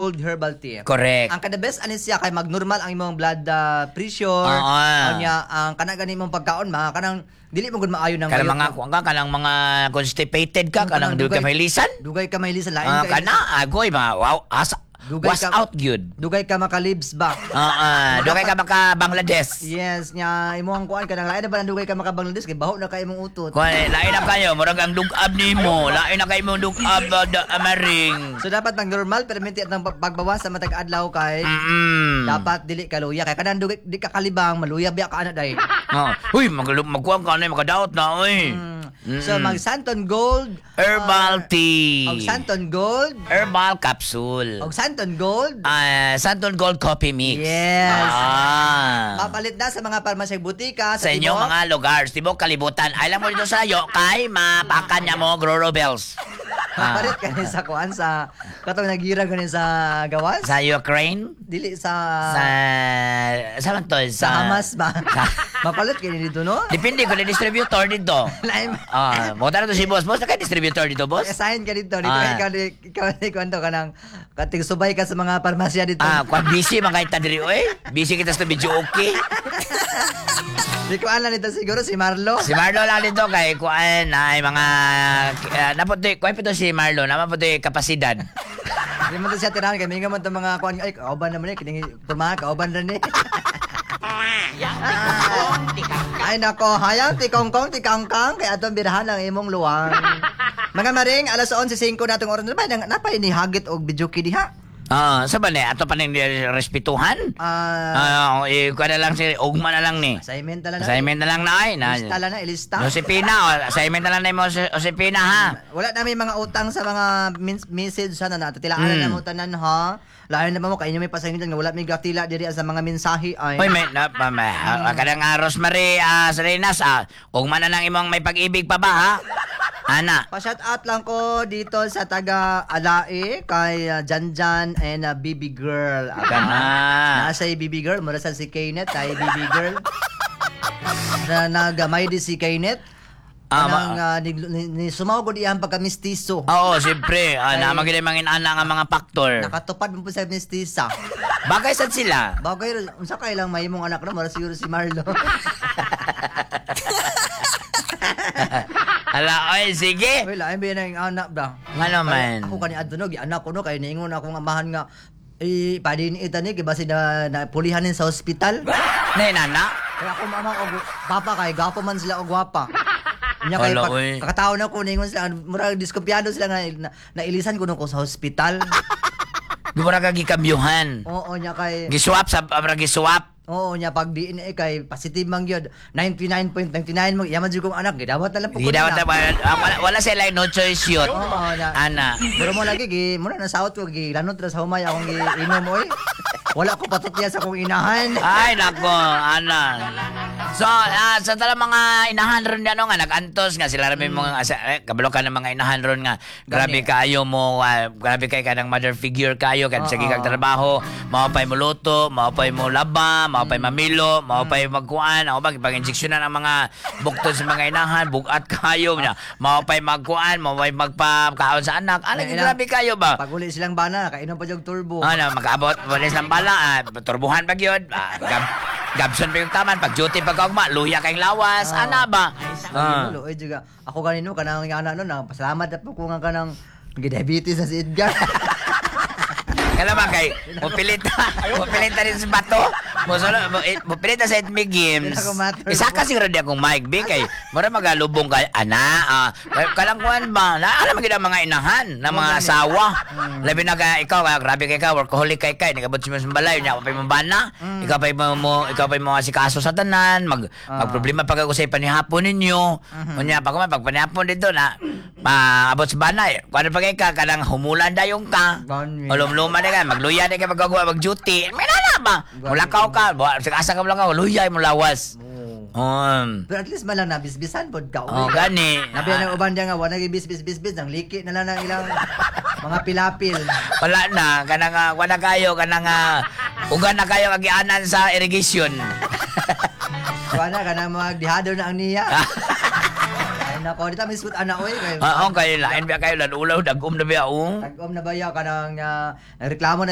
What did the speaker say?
Gold Herbal Tea. Correct. Ang kada best ani siya kay magnormal ang imong blood pressure. Unya ang kana gani imong pagkaon ma kanang dili mo gud maayo nang Kanang mga kuan ka, kanang mga constipated ka, kanang dugay ka mahilisan. Dugay ka mahilisan, lain Ah, ka. Kana agoy mga wow, asa Dugay was out gyud. Dugay ka makalibs ba? Ah, dugay ka maka Bangladesh. Yes, nya imong kuan kanang lain na ba nang dugay ka maka Bangladesh kay baho na kay imong utot. Kuan lain na kayo, murag ang dugab nimo, lain na kayo imong dugab da, maring. So dapat mag normal permanente at ng pagbawas sa matag adlaw kay dapat dili ka luya kay kanang dugay di ka kalibang maluya biya ka ana day. Oh. Uy, magkuan ka na, makadaot na oy. So mag Santon Gold Herbal tea. Og Santon Gold Herbal capsule. Og Santon Gold. Ah, Santon Gold Coffee Mix. Yes. Ah. Mapalit na sa mga parmasya, butika Sa inyong mga lugar, tibok kalibutan. Alam mo dito sa yo, kay mapakan niya mo Groro Bells. Ah. Mapalit kani sa kuan sa katong nagira gani sa gawas. Sa Ukraine? Dili sa Sa man to? Sa Hamas ba? Mapalit kani dito, no? Depende kung na distributor dito. Lain. Ah, mo to si boss. Boss, na kay distributor dito, boss? Assign ka dito. Dito Ah. ikaw ikaw ni kwento ka ng kating subay ka sa mga parmasya dito. Ah, kung busy man kay ta diri oy. Busy kita sa video okay. Di ko alam nito siguro si Marlo. Si Marlo lang dito kay kuan ay mga naputi kuan pa to si Marlo, naman puti kapasidad. Di man to siya tirahan kay minga man to mga kuan ay kauban naman eh kining pormaha kauban ra ni. Ay nako, hayang ti kongkong ti kangkang kay atong birahan ang imong luwang. Mga maring, alas 11:05 na atong oras na ba nang napay ni hagit og videoke diha. Ah, sa ba ni ato pa ning respetuhan? Ah, Ah, eh, kuan na lang si ugma na lang ni. Assignment na lang. Assignment na lang na ay. Na, Ilista lang na, ilista. Josepina, oh, assignment na lang na mo Josepina ha. Wala na may mga utang sa mga message sana na tilaan na mo tanan ha. Lain na ba mo kay inyo may pasangil nga wala may gatila diri sa mga mensahe ay. Hoy, may na pa may kanang Rosemary Salinas ugma na lang imong may pag-ibig pa ba ha? Ana. Pa-shout out lang ko dito sa taga Alae kay Janjan and BB Girl. Kana. Nasa BB Girl, mura sa si Kenneth ay BB Girl. Na nagamay di si Kenneth. Ah, Kanang ni sumaw gud iyang pagka-mistiso. Oo, siyempre. Ah, naman gid mga inana nga mga factor. Nakatupad mo po sa mistisa. Bagay sad sila. Bagay unsa kay lang mahimong anak no, mura siguro si Marlo. Ala, oy, sige. Uy, lain ba yan ang anak ba? Nga naman. Ako kani adto no, gianak ko no kay niingon akong amahan nga eh padin ita ni kay basi na pulihanin sa ospital. Nay, nana. Kaya ako mama og papa kay gapo man sila og gwapa. Nya kay Ala, pag, oy. kakataon na ko niingon sila murag diskumpiyado sila nga nailisan ko no ko sa ospital. Di mo na ka gikambyuhan. Oo nya kay Giswap sa abra giswap. Oo nya pag DNA kay positive man gyud 99.99 mo yaman jud kong anak gidawat na lang po ko Gidawat nila. na wala, wala sila no choice yun. Oo, na. Ana. Pero mo lagi gi muna na saot ko gi lanot ra sa humay akong gi inom oy. Wala ko patutya sa akong inahan. Ay, nako, ana. So, sa talang mga inahan ron ano nga, nag-antos nga, sila rami mga, asa, eh, kabalo ka ng mga inahan ron nga, grabe Gani. kaayo mo, grabe kay ka ng mother figure kayo, kan sige Oo. kag trabaho, mao pa'y mo luto, mao pa'y mo laba, mao pa'y mamilo, mao pa'y magkuan, ako ba, ipag-injeksyonan ang mga buktod sa mga inahan, bugat kayo, nya, mao pa'y magkuan, mao pa'y magpakaon sa anak, ano, Ay, grabe kayo ba? Pag uli silang bana, kainom pa jog turbo. Ano, makaabot, wala silang bala, turbuhan pa gyud, gabson pa yung taman, pag duty pag kaugma, luya kayong lawas, ana ba? Ah. Luoy juga. Ako ganino kanang nga anak no, na pasalamat na po ko nga kanang diabetes na si Edgar. Kala ba kay mupilita rin sa bato, mupilita sa Etmi Games. Hindi na ko matter. Isa ka siguro di akong mic, bi, kay mura magalubong kay, ana, kalang kuan ba, na, alam mo gid ang mga inahan, na mga asawa. Labi na ka, ikaw, grabe kay ka, workaholic kay kay, nagabot si mo balay, nya pa imong bana, ikaw pa mo asikaso sa tanan, magproblema pa kag usay panihapon ninyo. Unya pag pag panihapon dito na, maabot sa banay. Kuan pa kay ka, kanang humulan dayon ka. Gani. Ulumluma na ka, magluya na ka pagkagawa, mag-duty. May nana ba? Mulakaw ka, asa ka mulakaw, luya mo lawas. Pero at least man lang nabisbisan pod ka. Oh, gani. Nabi ang uban diya nga wala gibis-bis-bis nang liki na lang ang ilang mga pilapil. Wala na, kanang wala kayo, kanang uga na kayo kagianan sa irrigation. Wala ka na magdihado na ang niya. Ay nako, di ta mismot ana oy kay. Oo, kayo lain ba kayo, ulaw, dagom na ba, oh. Tag-om na ba ya kanang reklamo na.